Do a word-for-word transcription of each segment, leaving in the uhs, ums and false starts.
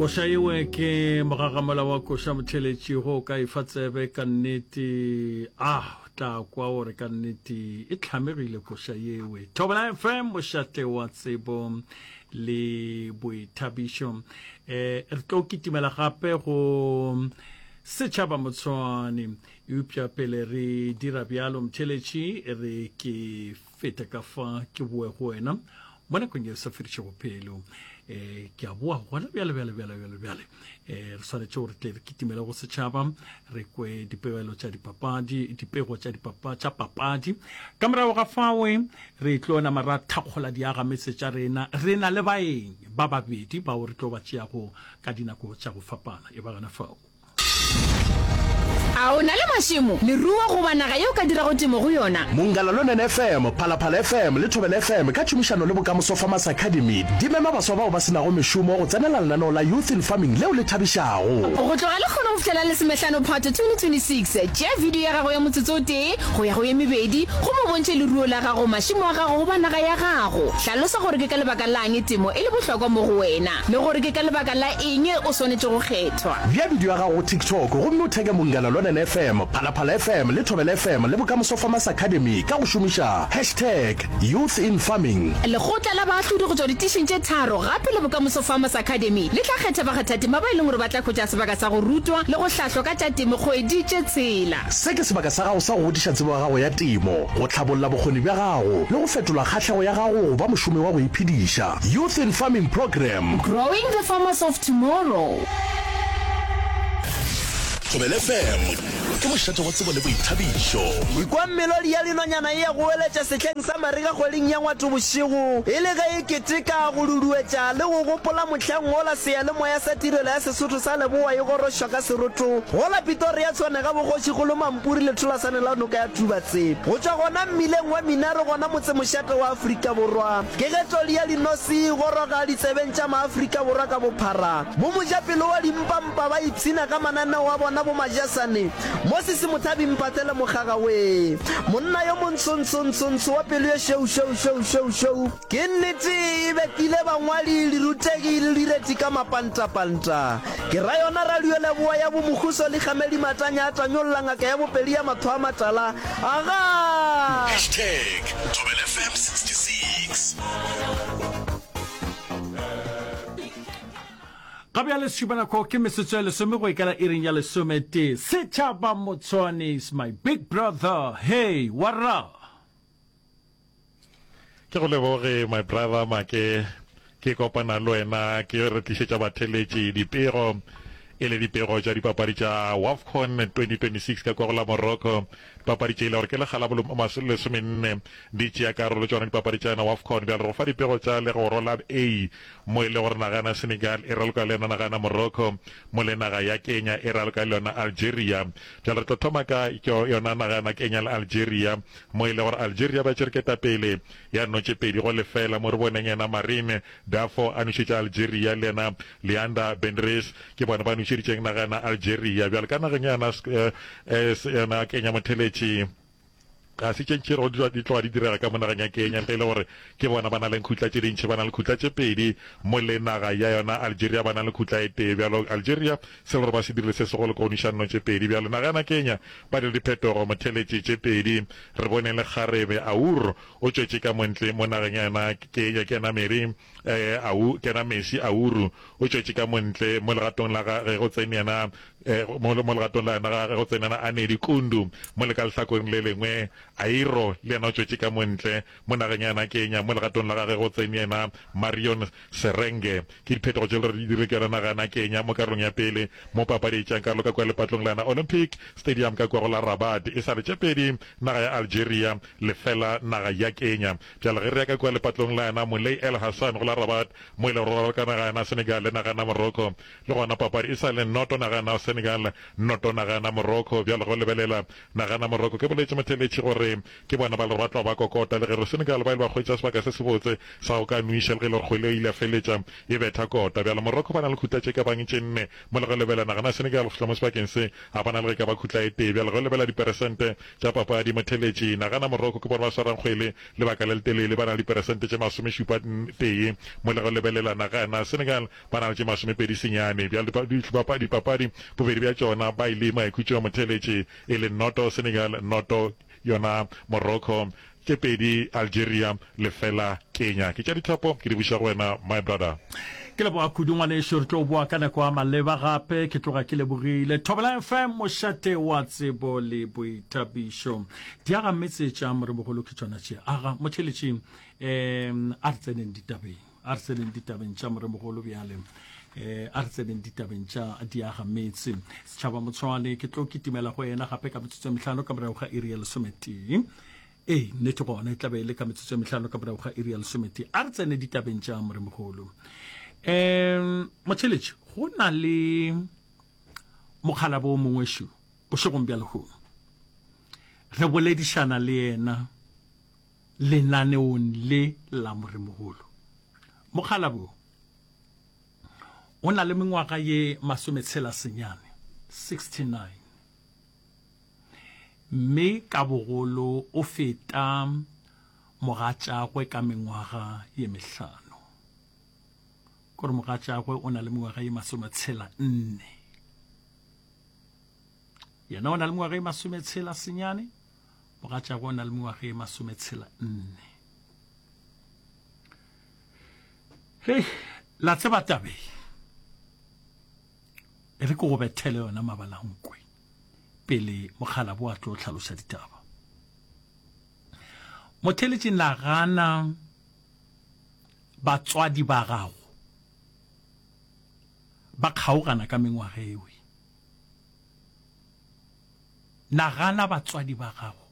Koša yewe ke mogagamola wa koša motheletši go ka efa tsebe ka nnete a tla kwa gore ka nnete e tlhamegile koša yewe. Thobela F M, mošate wa tsebo le boithabišo. um re tlo kitimela gape go Setšhaba Motshwane, eupša pele re dira bjalo, motheletši, re ke fete ka fa ke boe go wena mo nakong ye sa fedišego pelo. um ke a boa gona bjale bjale bjale bjale bjale. um re swanetše gore tle re kitimele go setšhaba, re kwe dipegelo tša dipapadi, dipego tša dipapa tša papadi. Ka morago ga fawe re tlo nama ra thakgola diagametse tša rena. Re na le baeng ba babedi bao re tlo ba tšeago ka dinako tša go fapana. E ba gona fao. A o na le mašemo, leruo goba naga yeo ka dirago temo go yona? Munghana Lonene F M, Phalaphala F M le Thobela F M ka tšhomišano le Bokamoso Farmers Academy di mema baswa bao ba se nago mešomo go tsenela lenaneo la Youth in Farming leo le thabišago. Go tloga lekgono go fihlela lesomehlano Phato twenty twenty-six, tšea video ya gago ya motsotso o tee go ya go ye mebedi go mo bontšhe leruo la gago, mašemo a gago goba naga ya gago. Hlalosa gore ke ka lebaka lang temo e le bohlokwa mo go wena le gore ke ka lebaka la eng o swanetše go kgethwa. Bea video ya gago go TikTok gomme o theke Munghana Lonene F M, Phalaphala F M le Thobela F M le Bokamoso Farmers Academy ka go šomiša hashtag Youth in Farming. Lekgotla la baahlodi go tšwa ditišing tše tharo gape le Bokamoso Farmers Academy le tla kgetha bakgathatema ba e leng gore ba tla hwetša sebaka sa go rutwa le go hlahlwa ka tša temo kgwedi tše tshela. Se ke sebaka sa gago sa go godiša tsebo ya gago ya temo, go hlabolla bokgoni bja gago le go fetola kgahlego ya gago go ba mošomi wa go iphediša. Youth in Farming Program. Growing the farmers of tomorrow. Thobela F M ke mošate wa tsebo le boithabišo. Ikwa melodi ya dinonyana e ya go weletša sehleng sa marega kgweding ya Ngwato bošego, e le ge e keteka go duduetša le go gopola mohlang wola seyalemoya sa tirelo ya Sesotho sa Leboa e gorošwa ka seroto gola Pretoria Tshwane ga bogošikgolo Mampuri letholasane la noka ya Tubatse. Go tšwa gona mmileng wa Minare gona motsemošate wa Afrika Borwa, ke ge toli ya dinosi e goroga ditsebeng tša Maafrika Borwa ka bophara. Bo mojapelo wa dimpampa ba ipshina ka mananeo a bona bo majasane Moses Mothabi Mphathele Mokgaga we monna yo montsho-ntsho-ntsho-ntsho wa pelo ye šweu-šweu-šweu-šweu-šweu. Ke nnete e betile bangwadi, dirutegi le direti ka mapantapanta. Ke ra yona radio Leboa ya bo Mokhuso Likgamedi Matanya a tanyolla ngaka ya bopedi ya matho a matala. Agaa! Hashtag Thobela F M sixty-six. Ga bjale šupanako ke metsotso ya lesome go ikela iring ya lesometee. Setšhaba Motshwane is my big brother. Hey, wara. Ke go leboge, my brother Make. Ke kopana le wena ke re tlišetša batheletši dipego, e le dipego tša dipapadi tša WAFCON twenty twenty-six ka kwa go la Morocco. Dipapadi tše ile gore ke lekgala lesomenne di tšea karolo tšona dipapadi tša yona WAFCON. Bjale go fa dipego tša legoro la A, mo e le gore naga yana Senegal e raloka le yona naga yana Morocco, mo le naga ya Kenya e raloka le yona Algeria. Bjale re tlo thoma ka yona naga yana Kenya le Algeria, mo e le gore Algeria ba tšere ketapele ya no tše pedi go lefela, mo re boneng yena Marine Dafo a nošetša Algeria le yena Leander Bendres, ke bona ba nošeditšeng naga yana Algeria. Bjale ka nageng yana yona Kenya, motheletši, ga se tše ntši di tloga di direga ka mo nageng ya Kenya, ntle le gore ke bona ba na le khutla tše dintši, ba na le khutla tše pedi, mo le naga ya yona Algeria ba na le khutla e tee. Bjalo Algeria se le gore ba se dirile se segolo ko go noša nno tše pedi. Bjalo naga yana Kenya ba dire diphetogo, motheletši, tše pedi. Re bone le kgarebe Aur o tšwetše ka montle mo nageng ya yona Kenya, ke yena Mary eh, au ke yena Messi Auru o tšwetše ka montle mo legatong la gage go tsene yena eh, mo mo legatong la yena gage go tsene yena Anedi Kundu, mo le ka lehlakoreng le lengwe Airo le yena o tšwetše ka montle mo nageng ya yena Kenya, mo legatong la gage go tsene yena Marion Serenge. Ke diphetogo tše le gore di dirile ke yona naga yana Kenya mo karolong ya pele mo papadi e tšeang karolo ka kua lepatlong la yona Olympic Stadium ka kua go la Rabat. E sa le tše pedi naga ya Algeria, lefela naga ya Kenya. Bjale ge re ya ka kua lepatlong la yona Moulay El Hassan go la Rabat, mo e le gore go raloka naga yana Senegal le naga yana Morocco, le gona papadi e sa le noto naga yana Senegal noto nagana Morocco. Bjalo go lebelela nagana Morocco ke boletše motheletši gore ke bona ba le ba tloga ba kokota le ge re Senegal ba ile ba hwetša sebaka se sebotse sa go ka nwiša le ge e le gore kgwele e ile ya feletša e betha kota. Bjalo Morocco ba na le khutla tše ka bang tše nne mo le go lebelela nagana Senegal go fihla mo sebakeng se a ba na le ge ka ba khutla e tee. Bjalo go lebelela diperesente tša papadi motheletši nagana Morocco ke bona ba swarang kgwele lebaka le letelele ba na le diperesente tše masomešupa tee mo le go lebelela nagana Senegal ba na le tše masomepedi senyane. Bjalo dipapadi bobedi bja tšona ba ile maikhutšong motheletši e le noto Senegal noto yona Morocco tše pedi Algeria lefela Kenya. Ke tša dithapo ke di buša go wena my brother. Ke leboga kudu ngwanešu, re tlo boa ka nako ya maleba gape. Ke tloga ke lebogile. Thobela F M mošate wa tsebo le boithabišo. Diaga metse tša moremogolo ke tšona tše. Aga motheletši um a re tseneng ditabeng. A re tseneng ditabeng tša moremogolo bjale. Eh, a re tseneng ditabeng tša diaga metse. Setšhaba Motshwane ke tlo kitimela go yena gape ka metsotso e mehlano ka morago ga iri ya lesometee. Ee, nnete gona e tlabe e le ka metsotso e mehlano ka morago ga iri ya lesometee. A re tsene ditabeng tša moremogolo. Um motheletši go na le mokgalabo o mongwe šo bošegong bja lehono re boledišana le yena lenaneong le la moremogolo. Mokgalabo o na le mengwaga ye masometshela senyane, sixty-nine, mme ka bogolo o feta mogatšagwe ka mengwaga ye mehlano. Kore mogatšagwe o na le mengwaga ye masometshela nne, yena o na le mengwaga ye masometshela senyane, mogatšagwe o na le mengwaga ye masometshela nne. Hei, la tseba tabeng e re ke go bethele yona mabalankwe pele mokgalabo a tlo hlaloša ditaba. Motheletši, nagana batswadi ba gago ba kgaogana ka mengwaga ewe. Nagana batswadi ba gago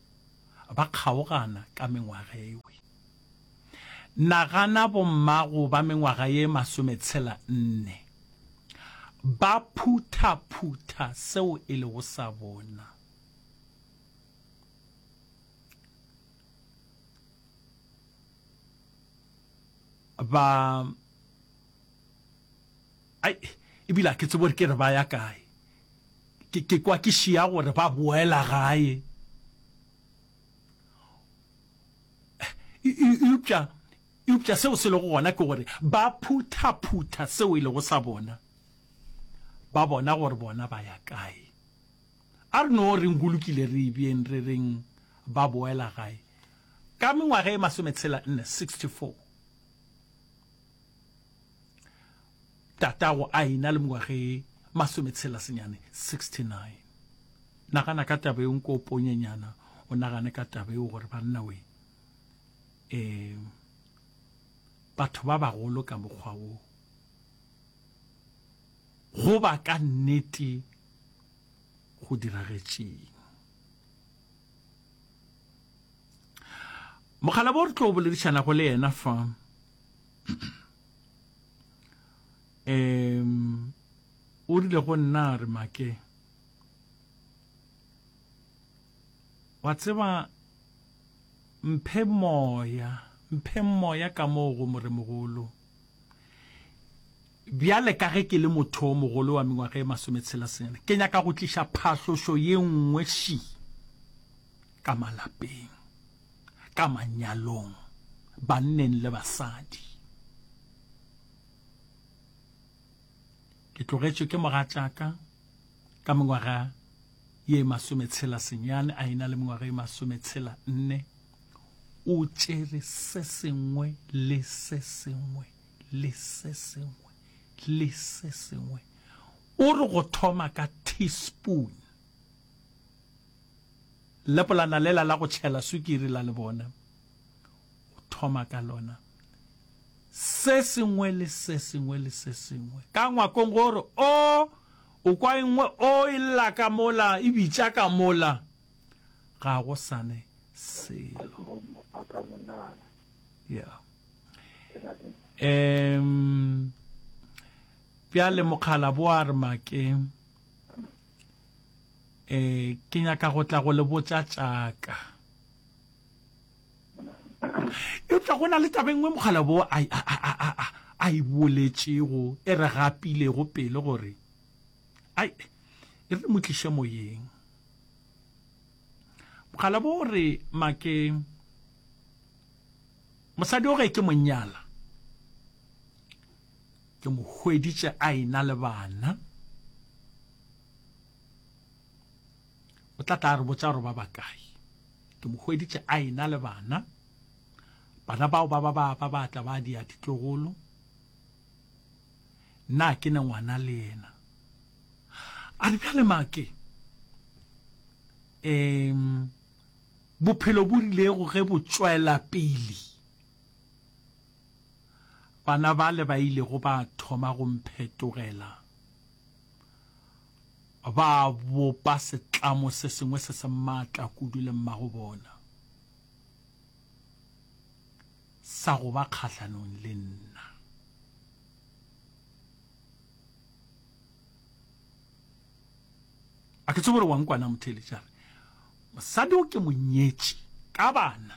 ba kgaogana ka mengwaga ewe. Nagana bommago ba mengwaga ye masometshela nne ba phuthaphutha seo e lego sa bona. Ba ai ebile a ke tsebe gore ke re ba ya kae. Ke ke kwa ke šia gore ba boela gae. Eupša eupša seo se lego gona ke gore ba phuthaphutha seo e lego sa bona. Ba bona gore bona ba ya kae. A re no reng go lokile re e beeng re reng ba boela gae. Ka mengwaga e masometshela nne, sixty-four, tatago a ena le mengwaga e masometshela senyane, sixty-nine. Nagana ka taba eo, nko o ponyenyana o nagane ka taba eo gore banna we, um batho ba bagolo ka mokgwa wo go ba ka nnete go diragetšeng. Mokgalabo re tlo boledišanago le yena fa um o rile go nna re make wa tseba mphe moya, mphe moya ka moo go moremogolo. Bjale ka ge ke le motho o mogolo wa mengwaga e masometshela senyane, ke nyaka go tliša phahlošo ye nngwe ši ka malapeng, ka manyalong, banneng le basadi. Ke tlogetšwe ke mogatšaka ka mengwaga ye masometshela senyane, a ena le mengwaga ye masometshela nne. O tšere se sengwe le se sengwe le se sengwe le se sengwe. O re go thoma ka teaspoon, lepolana lela la go tšhela sukiri la le bona, o thoma ka lona se sengwe le se sengwe le se sengwe ka ngwakong gore o o kwa e nngwe o e lla ka mola e bitša ka mola, ga go sane selo. Yeah. Um bjale mokgalabo a re make Um ke nyaka go tla go le botša tša ka. Eupša go na le taba e nngwe mokgalabo wo a, a, a, a, a, a e boletšego e re gapilego pelo gore, ai, e re mo tliše moyeng. Mokgalabo o re, Make, mosadi o ge ke mo nyala, ke mo hweditše a ena le bana. O tla tla a re botša gore ba bakae. Ke mo hweditše a ena le bana. Bana bao ba ba ba ba ba tla ba dia ditlogolo. Nna ke ne ngwana le yena. A re bjale make, um bophelo bo rilego ge bo tšwela pele, bana bale ba ilego ba thoma go mphetogela, ba bopa setlamo se sengwe se se matla kudu le mmago bona, sa go ba kgahlanong le nna. A ke tsebe gore wa nkwa na, motheeletši? A re, Mosadi o ke mo nyetše ka bana,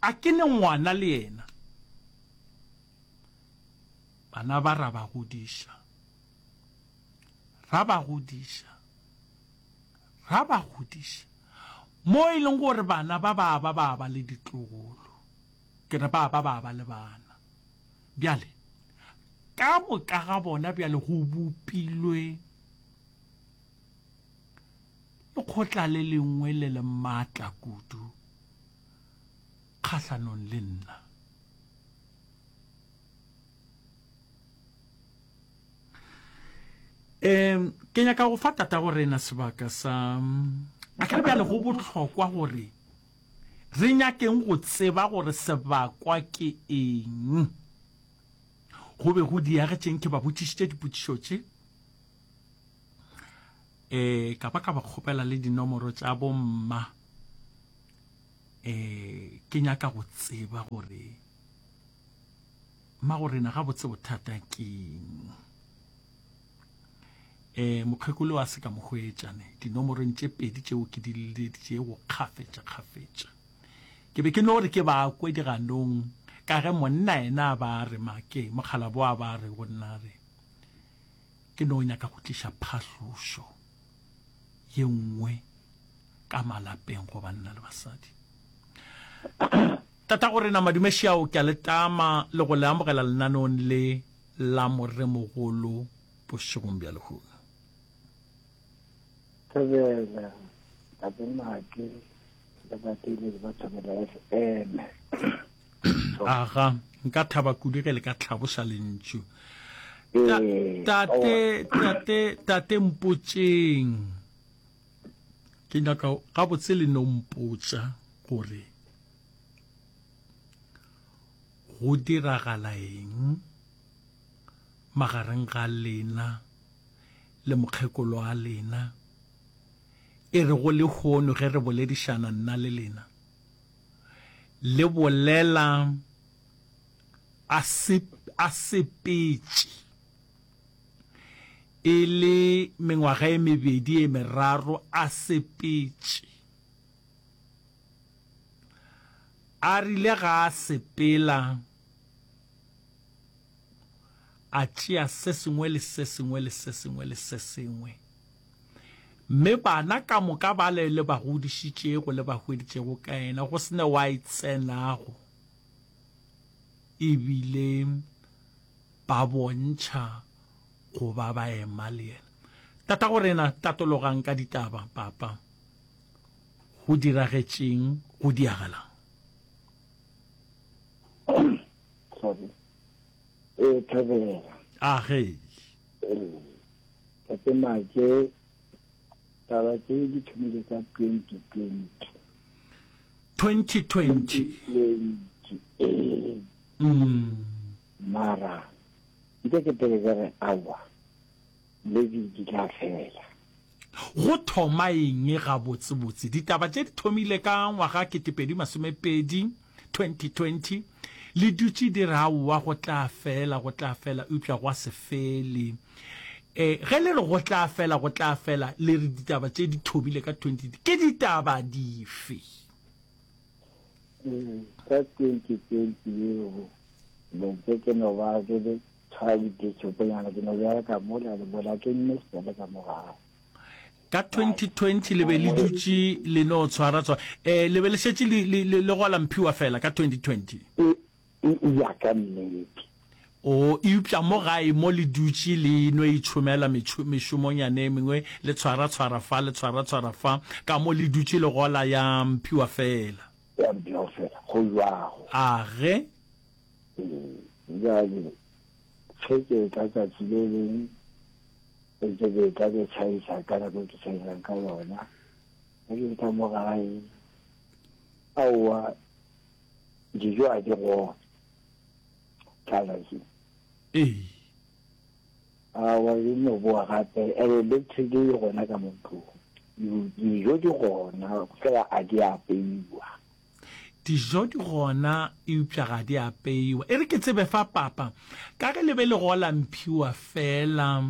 a ke ne ngwana le yena. Bana ba ra ba godiša, ra ba godiša, ra ba godiša, mo e leng gore bana ba ba ba ba ba le ditlogolo, ke re ba ba ba ba le bana. Bjale, ka moka ga bona bjale go bopilwe lekgotla le lengwe le le matla kudu kgahlanong le nna. Um ke nyaka go fa tatago rena sebaka sa a ke re bjale go bohlokwa gore re nyakeng go tseba gore sebakwa ke eng. Go be go diagetšeng ke ba botšišitše dipotšišo tše um ka ba ka ba kgopela le dinomoro tša bomma um ke nyaka go tseba gore Mmagorena gabotse bothata keng? E, mokgekolo a se ka mo hwetša ne dinomorong tše pedi tšeo ke di leleditšego kgafetša kgafetša. Ke be ke no re ke ba kwe diganong ka ge monna yena a ba a re make, mokgalabo a ba a re go nna re ke no nyaka go tliša phahlošo ye nngwe ka malapeng go banna le basadi. Tatagorena Madume Šiao, ke a le tama le go le amogela lenaneong le la Moremogolo bošegong bja lehono. Thobela, Tate Make le batheeletši ba Thobela F M. Aga, nka thaba kudu ge le ka hlaboša lentšu. Ta, Ee, tate, aowa. tate, tate mpotšeng. Ke nyaka gabotse le no mpotša gore go diragala eng magareng ga lena le mokgekolo wa lena, e rego lehono ge re boledišana nna le lena, le bolela a se, a sepetše e le mengwaga e mebedi e meraro a sepetše. A rile ga a sepela, a tšea se sengwe le se sengwe le se sengwe le se sengwe. Mme bana ka moka bale le ba godišitšego le ba hweditšego ka yena, go se ne wa e tsenago, e bile ba bontšha go ba ba ema le yena. Tatagorena, tatologang ka ditaba, Papa. Go diragetšeng go diagalang? Sorry. Ee, Thobela. A ge. Ee. Tate Make, taba tše di thomile ka twenty twenty. Twenty twenty. Twenty, ee. Mm. Mara, nke ke pele ke re aowa, le di di tla fela. Go thoma eng gabotsebotse? Ditaba tše di thomile ka ngwaga ketepedi masomepedi, twenty twenty, le dutše di re aowa go tla fela, go tla fela, eupša gwa se fele. Eh, ge le re go tla fela, go tla fela, le re ditaba tše di thomile ka twenty, ke ditaba dife? Ka twenty twenty yeo, be ntse ke no ba ke le tshwara ditšhoponyana, ke no bereka mola le mola, ke nne fela ka mo gae. Ka twenty twenty le be le dutše le no tshwara tshwara, eh, le be le šetše le, le, le, le gola mphiwa fela ka twenty twenty? E, e, ya ka nnete. O, eupša mo gae mo le dutše le no itšhomela metšho, mešomonyana e mengwe, le tshwara tshwara fa, le tshwara tshwara fa, ka mo le dutše le gola ya mphiwa fela. Ya mphiwa fela, go jwago. A ge? Ee, bjale, ge ke etla tšatši le leng, ke ntse ke etla ke tšhaisa ka nako e ke tšhaisang ka yona, ge ke etla mo gae, aowa, dijo a di gona. Tlala ke. Ee. Aowa, e no boa gape, and electric e gona ka mo ntlong. Dijo di gona, fela a di apeiwa. Dijo di gona, eupša ga di apeiwa. E re ke tsebe fa, Papa, ka ge le be le gola mphiwa fela,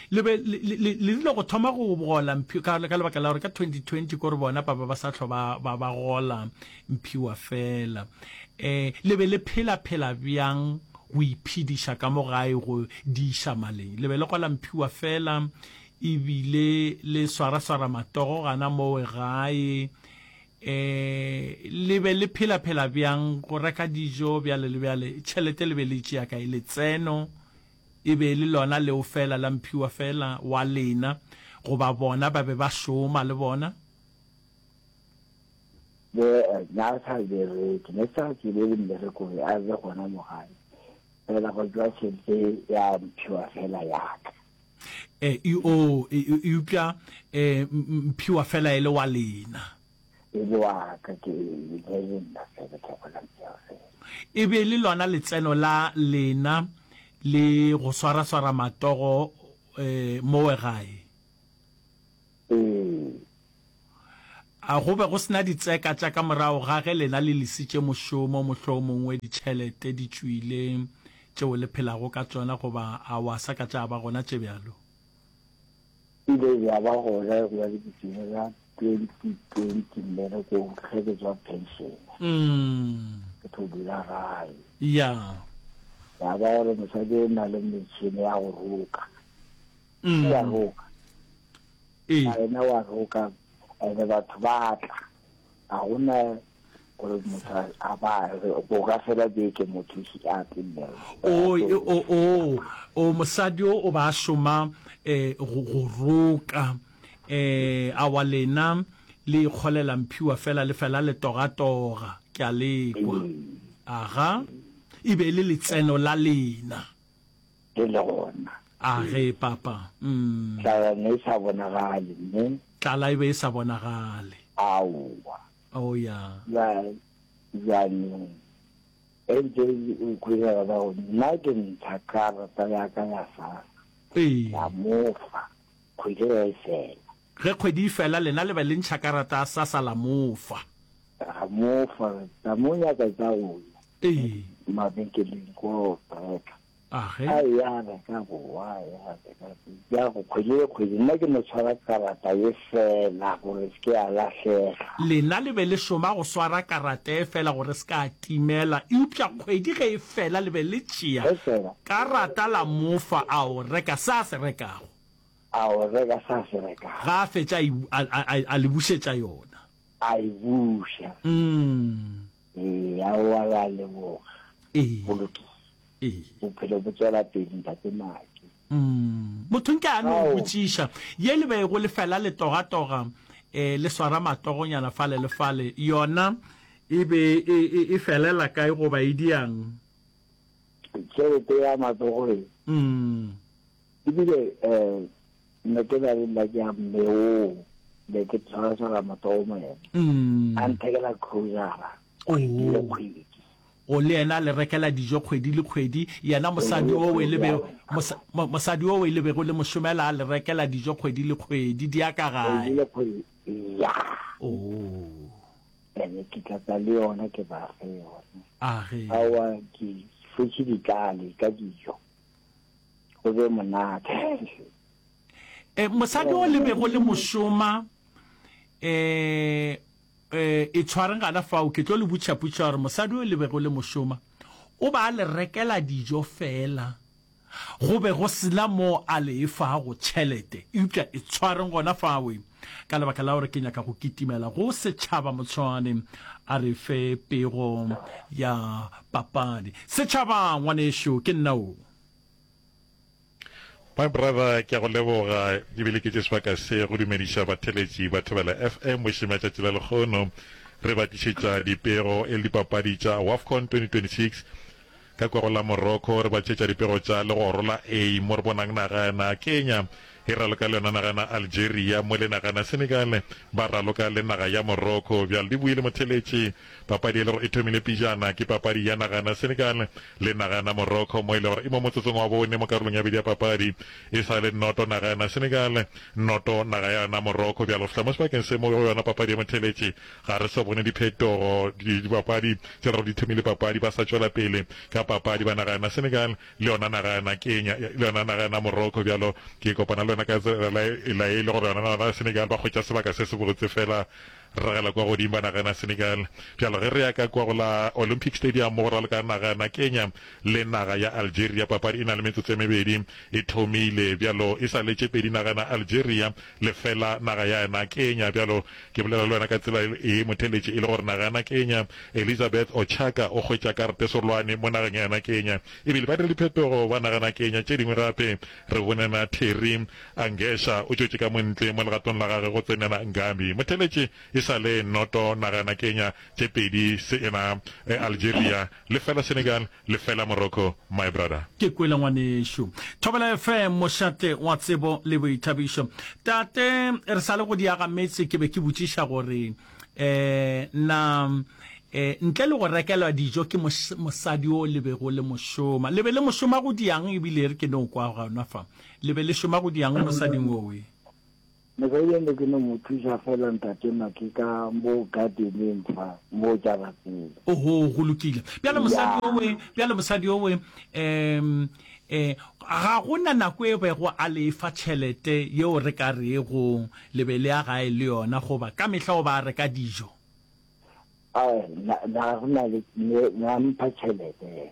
le be le, le, le, le rile go thoma go gola mphiwa, ka, ka lebaka la gore ka twenty twenty ko re bona papa ba sa hlwa ba, ba, ba gola mphiwa fela. Eh, le be le phela-phela bjang go iphediša ka mo gae go di iša maleng? Le be le gola mphiwa fela, ebile le swara-swara matogo gana mowe gae. Eh, le be le phela-phela bjang go reka dijo bjale le bjale? Tšhelete le be le e tšea kae? Letseno e be e le lona leo fela la mphiwa fela wa lena, goba bona ba be ba šoma le bona? Be, na sa bereke, ne sa tsebe le mmereko be a be gona mo gae. Fela go tšwa tšhelete ya mphiwa fela ya ka. Eh, e, o, e, e, eupša, eh, mphiwa fela e le wa lena. E le wa ka, ke, e be e le nna fela ke gola mphiwa fela. E be e le lona letseno la lena le go swaraswara matogo, eh, mowe gae? Ee. A go be go se na ditseka tša ka morago ga ge lena le lesitše mošomo, mohlomongwe ditšhelete di tšwile tšeo le phelago ka tšona, goba a wa sa ka tša ba gona tše bjalo? Ile ya ba gona go ya le ke tšwile ka twenty twenty mmerekong ge ke tšwa pension. Ke tlo dula gae. Ya. Ya ba gore mosadi o na le metšhini ya go roka. Ya roka. Ee. Yena wa roka, ene batho ba tla. Ga gona gore motho a ba go ka fela beke motho ise a tle mmereko. O, o, o, o, mosadi o o ba a šoma eh, go, go roka. Eh, awa lena le ikgolela mphiwa fela le fela le togatoga. Ke a le kwa. Aga, e be e le letseno la lena. Le le gona. A ge, papa. Mm. Tlala ne e sa bonagale, mme. Tlala e be e sa bonagale. Aowa. Oh, ya. Bja, bjanong, e ntse e kwegela ba go nna ke ntsha karata ya ka ya SASSA. Ee. Ka mo fa, kgwedi ge e fela. Ge kgwedi e fela, lena le be le ntšha karata ya SASSA la mo fa. Ra mo fa, ra mo nyaka tša go ya. Ee. Mabenkeleng ko reka. A ge. A ya reka boa, ya reka ya go kgwedi le kgwedi. Nna ke no tshwara karata ye fela gore se ke ya lahlega. Lena le be le šoma go swara karata ye fela gore se ka timela, eupša kgwedi ge e fela le be le tšea Ge fela. karata la mo fa a o reka se a se rekago. A o reka se a se rekago. Ga a fetša a e, a, a, a le bušetša yona. A e buša. Mm. Ee, aowa re a leboga. Ee. Go lokile. Ee. Bophelo bo tšwela pele, Ntate Maki. Mm. Motho nke a no Ao. botšiša, ye le bego le fela le togatoga, eh, le swara matogonyana fale le fale, yona e be e, e, e felela kae goba e diang? Tšhelete ya matsogo e. Mm. Ebile, eh, ne ke na le nna ke ya mme oo, ne ke tshwara-tshwara matsogo mo yena. Mm. A nthekela grocery kgwedi le Oh. kgwedi. O le yena a le rekela dijo kgwedi le kgwedi, yena mosadi o e le be, mosa, mo, mosadi o e le bego le mo šomela a le rekela dijo kgwedi le kgwedi, di ya ka gae. Kgwedi le kgwedi, ya. Oh. Ene ke tla tla le yona ke ba fe yona. A ge. Aowa, ke fetše ditlale ka dijo. Go be monate. E, mosadi o le bego le mošoma e e e tshwareng gana fao ke tlo le butša putša gore mosadi o le bego le mošoma o ba a le rekela dijo fela go be go sena mo a le efago tšhelete eupša e tshwareng gona fawe ka lebaka la gore ke nyaka go kitimela go setšhaba motshwane a re fe pego ya papadi setšhaba ngwanešo ke nna o My brother, ke a go leboga ebile ke tše sebaka se go dumediša batheletši ba Thobela FM bošeng bja tšatši la lekgono. Re ba tlišetša dipego e le dipapadi tša WAFCON twenty twenty six ka kwa go la Morocco. Re ba tlišetša dipego tša legoro la A mo re bonang naga ya Kenya e raloka le yona naga ya Algeria mo le naga ya Senegal ba raloka le naga ya Morocco. Bjale di buile motheletši papadi e le gore e thomile pejana ke papadi ya naga ya Senegal le naga ya Morocco mo e le gore e mo motsotsong wa bone mo karolong ya bedi ya papadi e sa le noto naga ya Senegal noto naga ya Morocco. Bjale go fihla mo sebakeng se mo go yona papadi ya motheletši ga re sa bone diphetogo dipapadi tše gore di thomile papadi ba sa tšwela pele ka papadi ba naga ya Senegal le yona naga ya Kenya le yona naga ya Morocco. Bjalo ke kopana le yona ka tsela la e le gore yona naga ya Senegal ba hwetša sebaka se se botse fela ragela kwa godimo ba naga ya Senegal. Bjalo ge re ya ka kwa go la Olympic Stadium mo go raloka naga ya Kenya le naga ya Algeria papadi e na le metsotso e mebedi e thomile. Bjalo e sa letše pedi naga ya Algeria lefela naga ya yena Kenya. Bjalo ke bolela le wena ka tsela e motheletše e le gore naga ya Kenya Elizabeth Ochaka o hwetša karate serolwane mo nageng ya yena Kenya ebile ba dira diphetogo ba naga ya Kenya tše dingwe gape re bonena Terry Angesha o tšwetše ka montle mo legatong la gagwe go tsenela Ngambi. Motheletše e sa le noto naga ya Kenya tše pedi se ena Algeria lefela Senegal lefela Morocco my brother. Ke kwele ngwanešu. Thobela F M mošate wa tsebo le boithabišo. Tate re sa le go diaga metse ke be ke botšiša gore eh na eh ntle le go rekelwa dijo ke mosadi o le bego le mošoma le be le mošoma go diang ebile re ke no kwa gona fa le be le šoma go diang mosading owe? Mosadi ene ke no mo thuša fela ntate Make ka mo gardeneng fa mo jarateng. Oho, go lokile. Bjale mosadi owe, bjale mosadi owe um eh ga gona nako e bego a le fa tšhelete yeo re ka rego le be le ya gae le yona goba ka mehla o ba reka dijo? Ai, na na gona le na mpha tšhelete.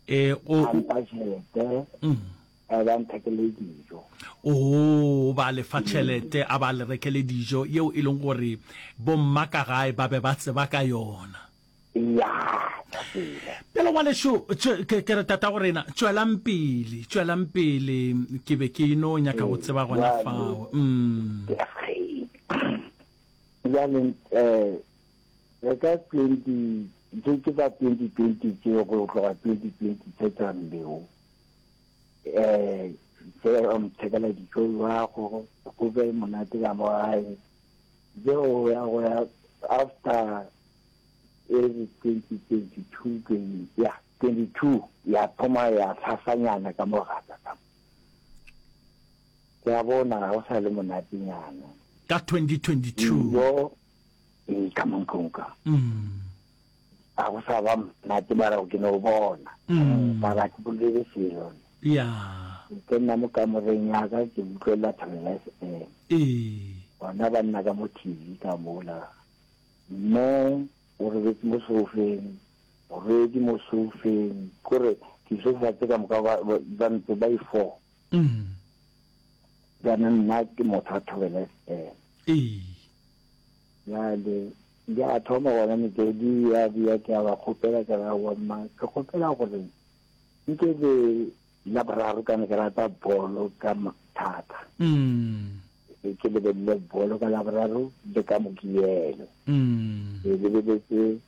Eh o mpha tšhelete. Mm. A ba nthekele dijo. O ba lefa tšhelete a ba le rekele dijo yeo e leng gore bomma ka gae ba be ba tseba ka yona. Ya, Pele ngwanešu ke ke re tata go rena tšwelang pele tšwelang pele ke be ke no nyaka go tseba gona fao. Mm. Bjale eh re ka twenty tše ke ba twenty twenty tše go tloga twenty twenty tše tša mbeo eh tše o nthekela dijo ba go go be monate ka mo gae je go ya go ya after e twenty twenty two twenty ya twenty two ya thoma ya tlhasanyana ka mo gaka ka ke a bona ga go sa le monatenyana ka twenty twenty two yo e ka mo ntlong ka mm a go sa ba monate mara ke no bona mm mara ke bolele selo ya ke nna mo kamoreng ya ka ke utlwelela Thobela F M ee bona ba nna ka mo T V ka mola mme o robetse mo sofeng morwedi mo sofeng kore disofa tse ka moka ba ntse ba i four mm jaanong nna ke motho wa Thobela F M ee bjale di a thoma gona metswedi ya bia ke a ba kgopela ke ra mma ke kgopela gore nke le la boraro ka ne ke rata bolo ka thata mm ke lebelele bolo ka la boraro le ka Mokibelo mm ke lebeletse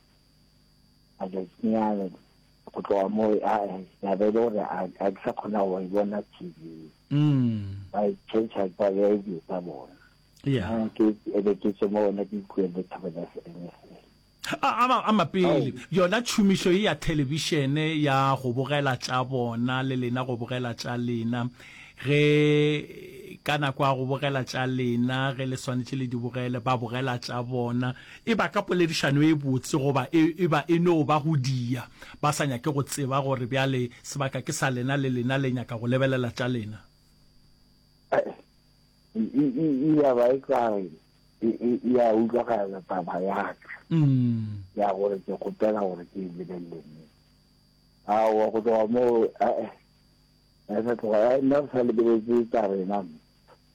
matšatšinyana go tloga mo ya be e le gore a ke sa kgona go e bona T V mm ba e change ba beya dilo tsa bona yeah ke ebe ke tswe mo gona ke ikuele Thobela F M fela. A a mapele yona tšhomišo ye ya thelebišene ya go bogela tša bona le lena go bogela tša lena ge ka nako ya go bogela tša lena ge le swanetše le di bogele ba bogela tša bona e ba ka poledišano e botse goba e ba e no ba go dia ba sa nyake go tseba gore bjale sebaka ke sa lena le lena le nyaka go lebelela tša lena. E e e ya ba e ka e e ya utlwagala taba ya ka. Mm. Ya gore ke kgopela gore ke e lebelele mme. Aowa go tloga moo eh eh sa tloga eh, nna re sa lebeletse tsa rena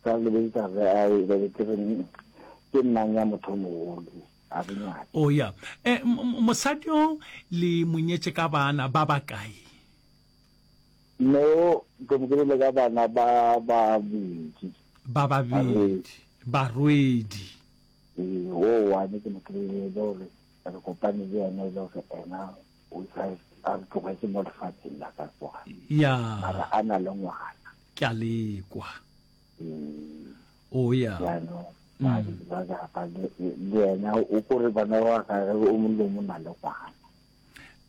sa lebeletse tsa re a e be ke re ke nnang ya motho o mogolo a re nyake. O ya. Eh, mosadi o le monyetše ka bana ba bakae? Mme o ke mo kry-ile ka bana ba babedi. Ba babedi. Barwedi. Ee, wo one ke mo kry-ile e le gore re kopane le yena e le gore ena o sa a re tlogetše mo lefatsheng la ka kwa. Ya. Mara a na le ngwana. Ke a lekwa. Ee. O ya. Jaanong babedi ba ka le le yena o kore bana ba gagwe o mongwe le o mongwe o na le ngwana.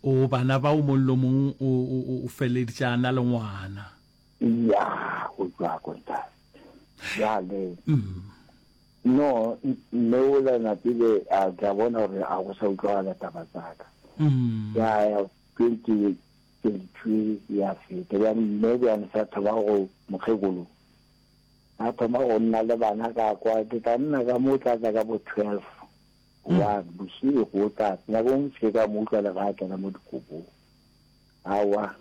O bana ba o mong le o mong o o o feleditše a na le ngwana. Ya, go tšwa ko ntate. Bjale no mme ola napile a tla bona gore a go sa utlwagala taba tsa ka. Ya ya twenty twenty two ya feta. Bjale mme bjale sa thoma go mokgekolo. A thoma go nna le bana ka kwa ke tla nna ka mo tla tla ka bo twelve one bošego o tla nako nngwe se ka mo utlwa le ga a kena mo dikobong. Aowa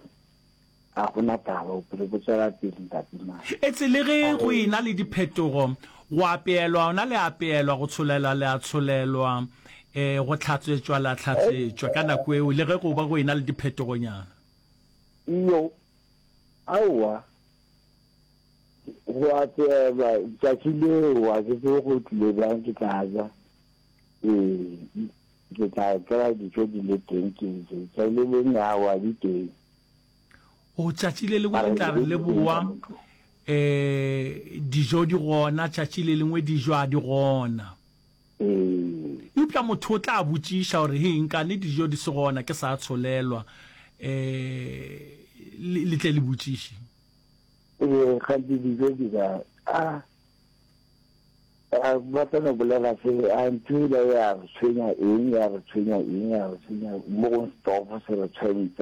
a gona taba bophelo bo tswela pele ntate Mane. Etse le ge go ena le diphetogo, go apeelwa ona le apeelwa, go tsholelwa le a tsholelwa, eh, go hlatswetšwa la hlatswetšwa ka nako eo, le ge go ba go ena le diphetogonyana. Iyo, aowa, go apeelwa tšatši leo a ke tsebe go tlile bjang ke tla ja, ee, ke tla kry-a dijo di le teng ke je, tšatši le lengwe aowa di teng. O tšatši le lengwe le tla re le boa, eh, dijo di gona, tšatši le lengwe dijo a di gona. Ee. Eupša motho o tla botšiša gore, Hei, nkane dijo di se gona, ke sa tsholelwa? Eh, le, le tle le botšiše. Ee, kganthe dijo di kae? A, a, ba tla no bolela se, a ntho ela ya re tshwenya eng, ya re tshwenya eng, ya re tshwenya, mo gongwe setofo se re tshwentse.